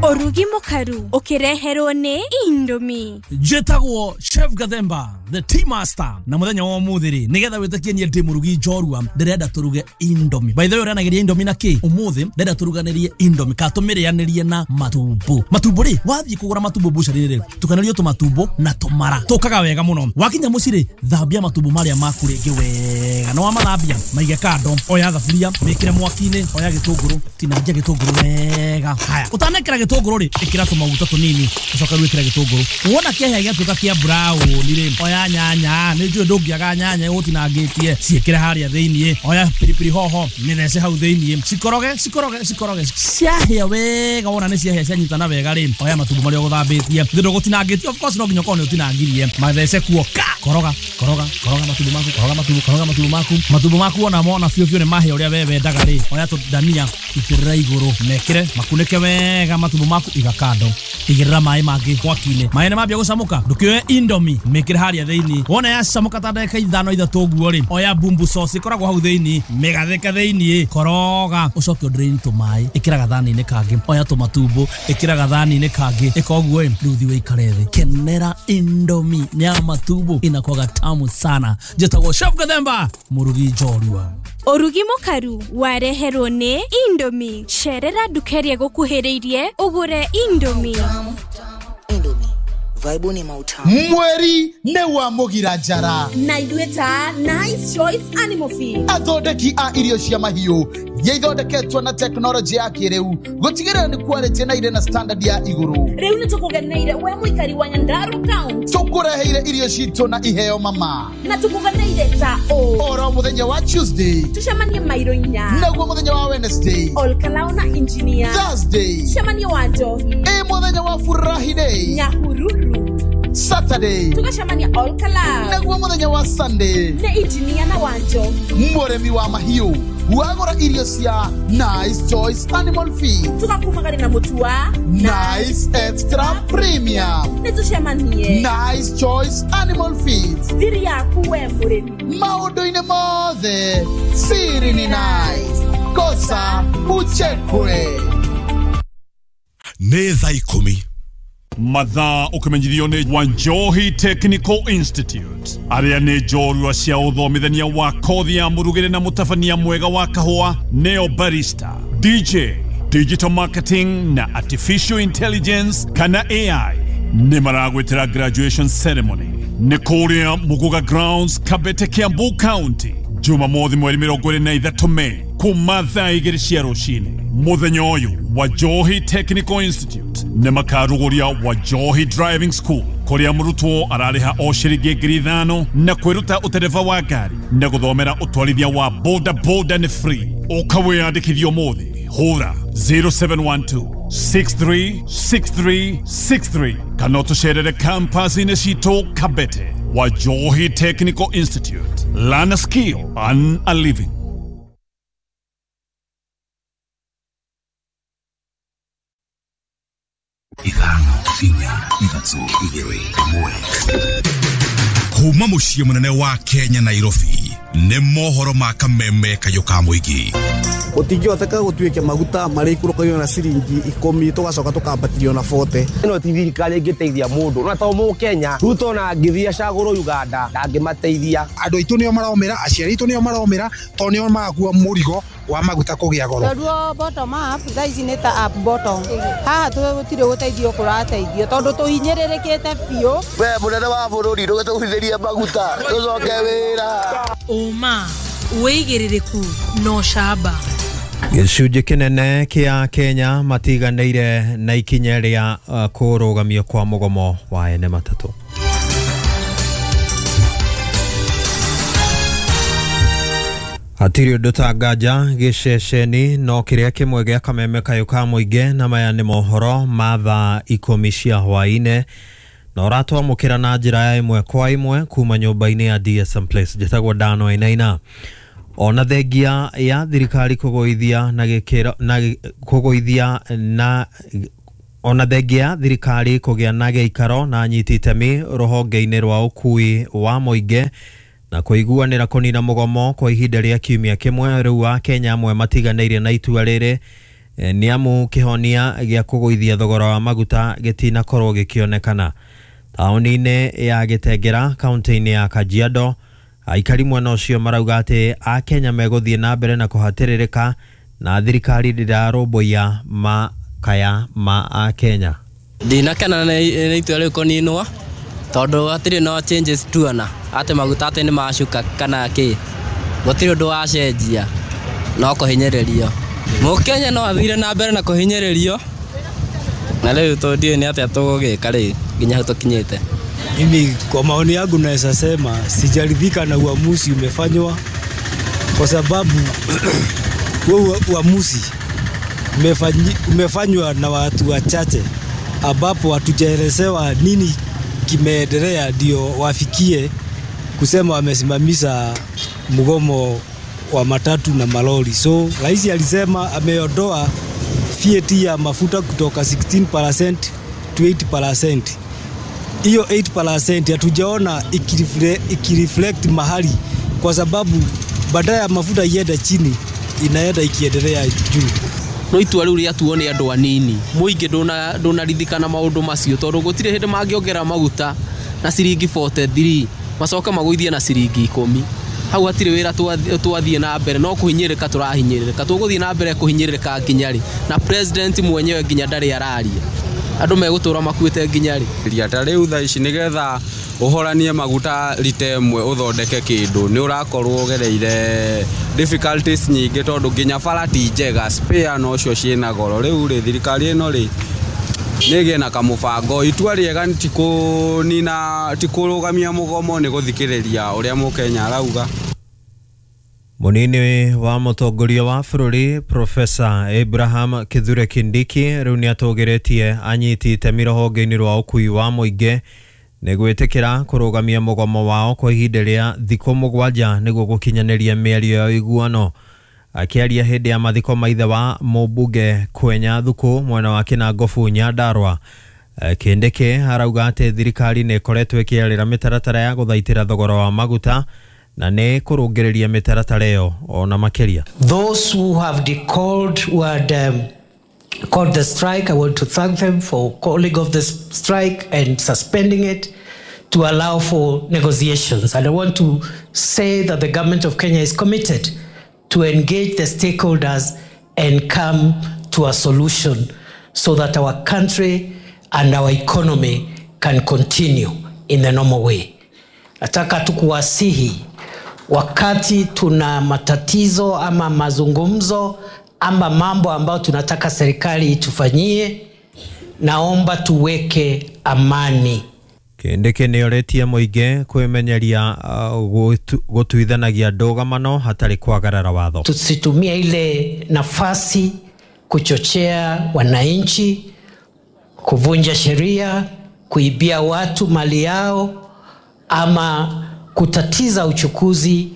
Ũrugi mũkaru ũkĩreherwo nĩ Indomie. Njĩtagwo Chef Gathemba, the tea master, na mũthenya wa ũmũthĩ rĩ, nĩgetha wĩtĩkie niĩ ndĩ mũrugi njorua, ndĩrenda tũruge Indomie. By the way, ũrĩanagĩria Indomie na kĩ? Ũmũthĩ ndĩrenda tũruganĩrie Indomie kana tũmĩrĩanĩrie na matumbo. Matumbo rĩ, wathiĩ kũgũra matumbo bucari rĩ, tukanĩrio tũmatumbo na tũmara tũkaga wega mũno. Wakinya mũciĩ rĩ, thambia matumbo marĩa maku rĩngĩ wega, na wamathambia maige kando. Oya thaburia, mĩkĩre mwaki-inĩ, oya gĩtũngũrũ, tinangia gĩtũngũrũ wega. Haya, ũtanekĩra gĩtũngũrũ rĩ, ĩkĩra tũmaguta tũnini, ũcoke rĩu ĩkĩra gĩtũngũrũ. Wona kĩahĩa gĩatuĩka kĩa brown rĩ, oya nyanya, nĩ njũĩ ndũngĩaga nyanya ũtinangĩtie, ciĩkĩre harĩa thĩiniĩ. Oya pilipili hoho, mĩthece hau thĩiniĩ, cikoroge cikoroge cikoroge, ciahĩa wega. Wona nĩ ciahĩa cianyitana wega rĩ, oya matumbo marĩa ũgũthambĩtie, thĩ ndũgũtinangĩtie, of course no nginya ũkorwo nĩ ũtinangirie, mathece kuo ka koroga koroga koroga matumbo maku, koroga matumbo, koroga matumbo maku, matumbo maku ona mona biũ biũ nĩ mahĩa ũrĩa we wendaga rĩ, oya tũndania itĩrĩra igũrũ, mekĩre makunĩke wega matumbo maku, iga kando, igĩrĩra maĩ mangĩ mwaki-inĩ. Maĩ nĩ mambia gũcamũka, ndũkĩoe Indomie mĩkĩre harĩa thĩiniĩ. Wona yacamũka ta ndagĩka 5 3 ũguo rĩ, oya bumbu sauce ĩkoragwo hau thĩiniĩ, mĩgathĩke thĩiniĩ, koroga, ũcoke ũdrain tũmaĩ, ĩkĩra gathani-inĩ kangĩ, oya tũmatumbo, ĩkĩra gathani-inĩ kangĩ, ĩka ũguo ĩ, rĩu thiĩ ũikare thĩ, kenera Indomie ya matumbo, inakuwaga tamu sana. Njĩtagwo Chef Gathemba, mũrugi njorua. Ũrugi mũkaru wareherwo nĩ Indomie. Cerera nduka ĩrĩa ĩgũkuhĩrĩirie ũgũre Indomie. Indomie, vaibu ni mautamu. Mweri nĩ wa mũgira njara. Na ithuĩ ta Nice Choice Animal Feed, athondeki a irio cia mahiũ iria ithondeketwo na tekinoronjĩ ya kĩrĩu gũtigĩrĩra nĩ quality na irĩ na standard ya igũrũ. Rĩu nĩ tũkũgeneire we mũikari wa Nyandarua County. Tũkũreheire irio citũ na iheo mama. Na tũkũgeneire ta ũ oro mũthenya wa Tuesday tũcemanie mairo 4, naguo mũthenya wa Wednesday Olkalao na engineer, Thursday tũcemanie wa Njohi, ĩ mũthenya wa Furahi Day Nyahururu, Saturday tũgacemania Olkalao, naguo mũthenya wa Sunday nĩ engineer na wa Njohi. Mũrĩmi wa mahiũ wagũra irio cia Nice Choice Animal Feed, tũgakumagari na mũtu wa Nice Extra Premium. Nĩ tũcemanie Nice Choice Animal Feed, thiri yaku we mũrĩmi. Maũndũ-inĩ mothe siri ni nice, kosa uchekwe. Nĩ thaa 10. Mathaa ũkĩmenyithio nĩ Wanjohi Technical Institute, arĩa nĩ njorua cia ũthomithania wa kothi ya mũrugĩre na mũtabania mwega wa kahũa, neo barista, DJ, digital marketing na artificial intelligence kana AI, nĩ maragwĩtĩra graduation ceremony nĩ kũrĩa Muguga Grounds, Kabete, Kiambu County, Jumamothi mweri 23 Mei kuma thaa 2 cia rũcinĩ. Mũthenya ũyũ Wajohi Technical Institute nĩ makarugũria Wajohi Driving School, kũrĩa mũrutwo ararĩha o ciringi 5,000 na kwĩruta ũtereba wa ngari na gũthomera ũtwarithia wa boda boda nĩ free. Ũka wĩyandĩkithie ũmũthĩ, hũra 0712 636363 kana ũtũcerere campus-inĩ citũ Kabete. Wajohi Technical Institute, learn a skill, earn a living. 5 4 3 2 1. Kuma mũciĩ mũnene wa Kenya Nairobi, nĩ mohoro ma kameme kayũ ka mũingĩ. Gũtingĩhoteka gũtuĩke maguta marĩikũrũkagio na ciringi 10 tũgacoka tũkambatĩrio na 40. Ĩno ti thirikari ĩngĩteithia mũndũ, no to mũkenya Ruto na angĩthiĩ acagũrwo Uganda ndangĩmateithia. Andũ aitũ nĩo maromĩra, aciari aitũ nĩo maromĩra, tondũ nĩo marakua mũrigo wa maguta kũgĩa goro. Tondũ bottom up thaa ici nĩ ta up bottom, haha tũtirĩ gũteithio kũrateithio tondũ tũhinyĩrĩrĩkĩte biũ. We mũnene wa bũrũri ndũgĩtũgũithĩrie maguta tũcoke wĩra. Ũma, wĩigĩrĩrĩku na ũcamba. Gĩcunjĩ kĩnene kĩa Kenya matiganĩire na ikinya rĩa kũrũgamio kwa mũgomo wa ene matatũ. Hatirĩ ũndũ ta nganja gĩceceni no kĩrĩa kĩmwe gĩa kameme kayũ ka mũingĩ, na maya nĩ mohoro ma thaa 10 cia hwaĩ-inĩ, na ũratwamũkĩra na njĩra ya 1 kwa 1 kuma nyũmba-inĩ ya DSM Place. Njĩtagwo Dano Wainaina. Ona thengia ya thirikari kũgũithia na gĩkĩro na kũgũithia na ona thengia thirikari kũgĩa na gĩikaro na anyiti itemi rũhonge-inĩ rwa ũkui wa mũingĩ na kũiguanĩra kũnina mũgomo kwa ihinda rĩa kiumia kĩmwe, rĩu Akenya amwe matiganĩire na itua rĩrĩ. Nĩ amu kĩhonia gĩa kũgũithia thogora wa maguta gĩtinakorwo gĩkĩonekana. Taũni-inĩ ya Gĩtengera kaunti-inĩ ya Kajiado, aikari mwena ũcio marauga atĩ Akenya megũthiĩ na mbere na kũhatĩrĩrĩka na thirikari ndĩrarũmbũiya makaya ma Akenya. Ndinakena nĩ itua rĩu kũninwo tondũ hatirĩ no changes tuona atĩ maguta atĩ nĩ macuka kana kĩ, gũtirĩ ũndũ wacenjia, no kũhinyĩrĩrio. Mũkenya no athire na mbere na kũhinyĩrĩrio, na rĩu tũndiũĩ nĩ atĩa tũgũgĩka rĩu nginya hau tũkinyĩte. Mimi kwa maoni yangu naweza sema sijaridhika na uamuzi umefanywa, kwa sababu huo uamuzi umefanywa na watu wachache ambapo hatujaelezewa nini kimeendelea ndio wafikie kusema wamesimamisha mgomo wa matatu na malori. So rais alisema ameondoa VAT ya mafuta kutoka 16% to 8%. Hiyo 8% hatujaona ikireflect mahali, kwa sababu badala ya mafuta iende chini inaenda ikiendelea juu. No itua rĩu rĩatuo nĩ andũ anini, mũingĩ ndũnarithikana maũndũ macio tondũ gũtirĩ hĩndĩ mangĩongera maguta na ciringi 43 macoke magũithie na ciringi 10. Hau hatirĩ wĩra twathiĩ na mbere, no kũhinyĩrĩrĩka tũrahinyĩrĩrĩka, tũgũthiĩ na mbere kũhinyĩrĩrĩka nginya rĩ? Na president mwenyewe nginya ndarĩ araria, andũ megũtũra makuĩte nginya rĩ? Ta rĩu thaa ici nĩgetha ũhoranie maguta rita ĩmwe ũthondeke kĩndũ nĩ ũrakorwo ũgereire difficulties nyingĩ tondũ nginya bara ti njega, spare nocio ciĩna goro. Rĩu rĩ thirikari ĩno rĩ nĩgĩe na kamũbango. Itua rĩega ti kũnina, ti kũrũgamia mũgomo, nĩ gũthikĩrĩria ũrĩa mũkenya arauga. Mũnini wa mũtongoria wa bũrũri Profesa Abraham Kithure Kindiki rĩu nĩatũgĩrĩtie anyiti itemi rũhonge-inĩ rwa ũkui wa mũingĩ nĩ gwĩtĩkĩra kũrũgamia mũgomo wao kwa ihinda rĩa thikũ 7 nĩguo gũkinyanĩria mĩario ya ũiguano. Akĩaria hĩndĩ ya mathiko ma ithe wa mũmbunge Kwenya Thuku mwena wa Kĩnangobu Nyandarua, Kindiki arauga atĩ thirikari nĩ ĩkoretwo ĩkĩarĩra mĩtaratara ya gũthaitĩra thogora wa maguta na nĩ kũrũngĩrĩria mĩtaratara ĩyo ona makĩria. Those who have decalled, who had called the strike, I want to thank them for calling off the strike and suspending it to allow for negotiations. And I want to say that the government of Kenya is committed to engage the stakeholders and come to a solution so that our country and our economy can continue in the normal way. Nataka tu kuwasihi, wakati tuna matatizo ama mazungumzo ama mambo ambayo tunataka serikali itufanyie, naomba tuweke amani. Kindiki nĩorĩtie mũingĩ kwĩmenyeria gũtuithanagia ndũgamano hatarĩ kwagarara watho. Tusitumie ile nafasi kuchochea wananchi, kuvunja sheria, kuibia watu mali yao, ama kutatiza uchukuzi,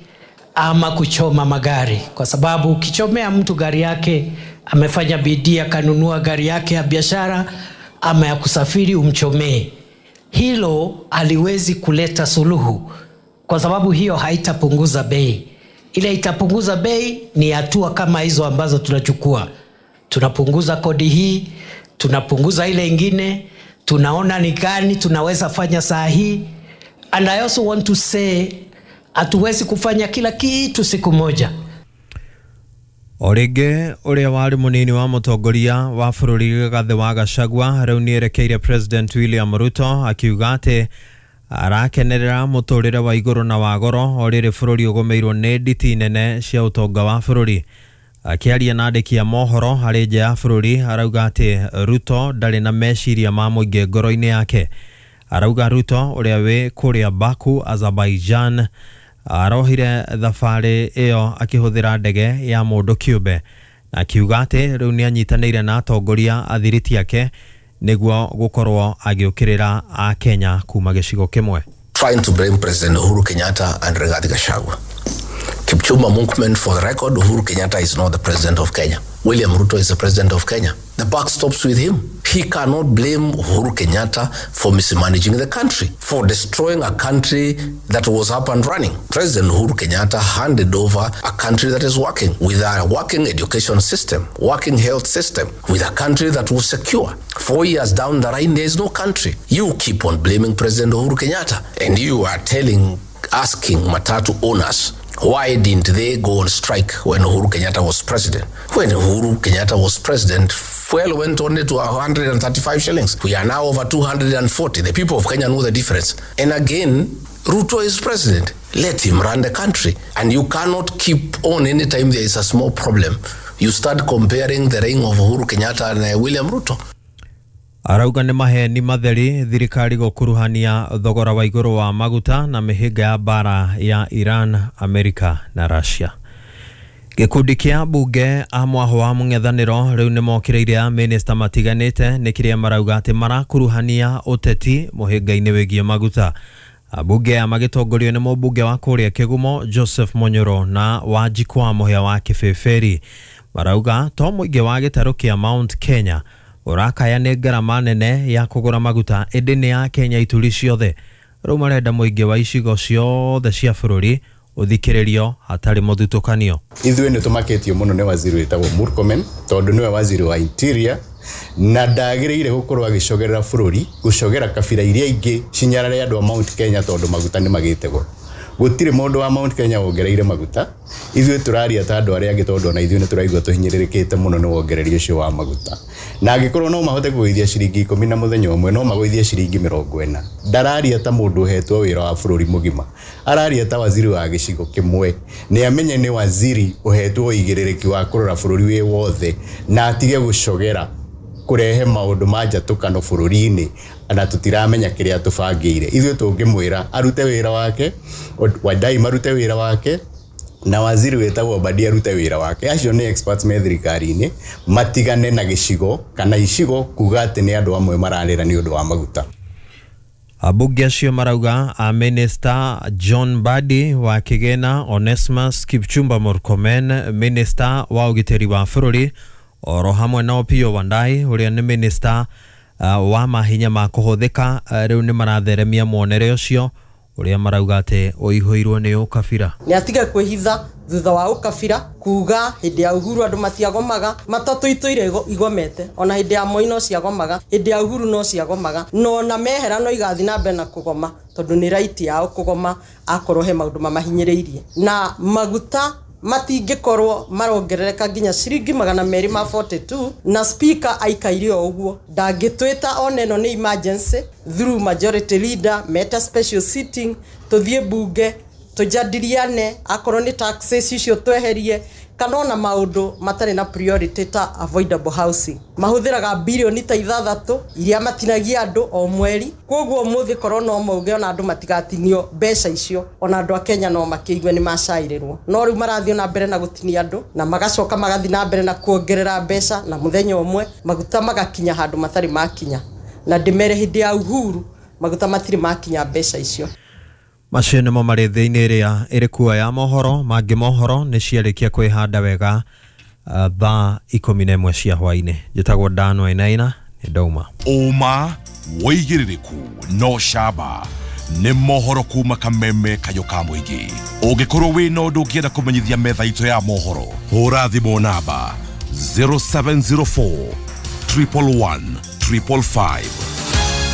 ama kuchoma magari. Kwa sababu ukichomea mtu gari yake, amefanya bidii akanunua gari yake ya biashara ama ya kusafiri, umchomee, hilo haliwezi kuleta suluhu, kwa sababu hiyo haitapunguza bei. Ile itapunguza bei ni hatua kama hizo ambazo tunachukua. Tunapunguza kodi hii, tunapunguza ile ingine, tunaona ni gani tunaweza fanya saa hii. And I also want to say, hatuwezi kufanya kila kitu siku moja. O rĩngĩ ũrĩa warĩ mũnini wa mũtongoria wa bũrũri Rigathĩ wa Gachagua rĩu nĩerekeire President William Ruto akiuga atĩ arakenerera mũtũrĩre wa igũrũ na wa goro o rĩrĩ bũrũri ũgũmĩirwo nĩ nditi nene cia ũtonga wa bũrũri. Akĩaria na andĩki a mohoro harĩ nja ya bũrũri arauga atĩ Ruto ndarĩ na meciria ma mũingĩ ngoro-inĩ yake. Arauga Ruto ũrĩa wĩ kũrĩa Baku, Azerbaijan, arohire thabarĩ ĩyo akĩhũthĩra ndege ya mũndũ kĩũmbe, na akiuga atĩ rĩu nĩanyitanĩire na atongoria athiriti ake nĩguo gũkorwo agĩũkĩrĩra Akenya kuma gĩcigo kĩmwe. Trying to blame President Uhuru Kenyatta and Rigathi Gachagua. Kipchumba Murkomen, for the record, Uhuru Kenyatta is not the president of Kenya. William Ruto is the president of Kenya. The buck stops with him. He cannot blame Uhuru Kenyatta for mismanaging the country, for destroying a country that was up and running. President Uhuru Kenyatta handed over a country that is working, with a working education system, working health system, with a country that was secure. 4 years down the line, there is no country. You keep on blaming President Uhuru Kenyatta, and you are asking Matatu owners, why didn't they go on strike when Uhuru Kenyatta was president? When Uhuru Kenyatta was president, fuel went only to 135 shillings. We are now over 240. The people of Kenya know the difference. And again, Ruto is president. Let him run the country. And you cannot keep on anytime there is a small problem. You start comparing the reign of Uhuru Kenyatta and William Ruto. Arauga nĩ maheni matheri thirikari gũkuruhania thogora wa igũrũ wa maguta na mĩhĩnga ya bara ya Iran, Amerika na Russia. Gĩkundi kĩa bunge a mwaho wa mũng'ethanĩro rĩu nĩmokĩrĩire a minista matiganĩte nĩ kĩrĩa marauga atĩ marakuruhania ũteti mũhĩnga-inĩ wĩgiĩ maguta. Abunge aya magĩtongorio nĩ mũmbunge wa kũrĩa Kĩgumo Joseph Monyoro na Wanjikwa Mũhĩa wa Kĩbĩbĩri marauga to mũingĩ wa gĩtarũ kĩa Mount Kenya ũrakaya nĩ ngarama nene ya kũgũra maguta ĩndĩ nĩ ya Kenya ituri ciothe. Rĩu marenda mũingĩ wa icigo ciothe cia bũrũri ũthikĩrĩrio hatarĩ mũthutũkanio. Ithuĩ nĩ tũmakĩtio mũno nĩ waziri wĩtagwo Murkomen tondũ nĩwe waziri wa interior na ndagĩrĩire gũkorwo agĩcogerera bũrũri gũcogera kabira iria ingĩ cinyarare andũ a Mount Kenya tondũ maguta nĩ magĩte goro. Gũtirĩ mũndũ wa Mount Kenya wongereire maguta. Ithuĩ tũraria ta andũ arĩa angĩ tondũ ona ithuĩ nĩ tũraigua tũhinyĩrĩrĩkĩte mũno nĩ wongereri ũcio wa maguta. Na angĩkorwo no mahote kũgũithia ciringi 10 na mũthenya ũmwe no magũithie ciringi 40. Ndararia ta mũndũ ũhetwo wĩra wa bũrũri mũgima, araria ta waziri wa gĩcigo kĩmwe. Nĩ amenye nĩ waziri ũhetwo ũigĩrĩrĩki wa kũrora bũrũri wĩ wothe na atige gũcogera kũrehe maũndũ ma njatũkano bũrũri-inĩ na tũtiramenya kĩrĩa tũbangĩire. Ithuĩ tũngĩmwĩra arute wĩra wake, Wadai marute wĩra wake na waziri wĩtagwo Mbadi arute wĩra wake. Acio nĩ experts me thirikari-inĩ, matigane na gĩcigo kana icigo kuga atĩ nĩ andũ amwe mararĩra nĩ ũndũ wa maguta. Abunge acio marauga a Minister John Mbadi wa Kigena, Onesmus Kipchumba Murkomen Minister wa ũgitĩri wa bũrũri oro hamwe na Opiyo Wandayi ũrĩa nĩ minister wa mahinya ma kũhũthĩka rĩu nĩ maratheremia muonere ũcio ũrĩa marauga atĩ ũihũirwo nĩ ũkabira. Nĩ atige kwĩhitha thutha wa ũkabira kuga hĩndĩ ya Uhuru andũ matiagomaga, matatũ itũire igomete, ona hĩndĩ ya Moi no ciagomaga, hĩndĩ ya Uhuru no ciagomaga, no ona mehera no igathiĩ na mbere na kũgoma tondũ nĩ right yao kũgoma akorwo he maũndũ mamahinyĩrĩirie. Na maguta matingĩkorwo marongerereka nginya ciringi 242 na speaker aikaire o ũguo ndangĩtwĩta ona ĩno nĩ emergency through majority leader meta special sitting tũthiĩ bunge tũjadiliane akorwo nĩ taxes icio tweherie kana ona maũndũ matarĩ na priority ta avoidable housing. Mahũthĩraga bilioni ta 6 iria matinagia andũ o mweri, koguo ũmũthĩ korwo no mauge ona andũ matigatinio mbeca icio, ona andũ a Kenya no makĩigue nĩ macairĩrwo. No rĩu marathiĩ na mbere na gũtinia andũ na magacoka magathiĩ na mbere na kuongerera mbeca na mũthenya ũmwe maguta magakinya handũ matarĩ makinya. Na ndĩmere hĩndĩ ya Uhuru maguta matirĩ makinya mbeca icio. Macio nĩmo marĩ thĩinĩ ĩrĩa ĩrĩ kuo ya mohoro mangĩ mohoro nĩ ciarĩkia kwĩhanda wega thaa 11 cia hwainĩ. Njĩtagwo Dan Wainaina nĩ ndauma. Ũma wĩigĩrĩrĩku no camba nĩ mohoro kuma kameme kayũ ka mũingĩ. Ũngĩkorwo wĩna ũndũ ũngĩenda kũmenyithia metha itũ ya mohoro, hũra thimũ namba 0704 111 555.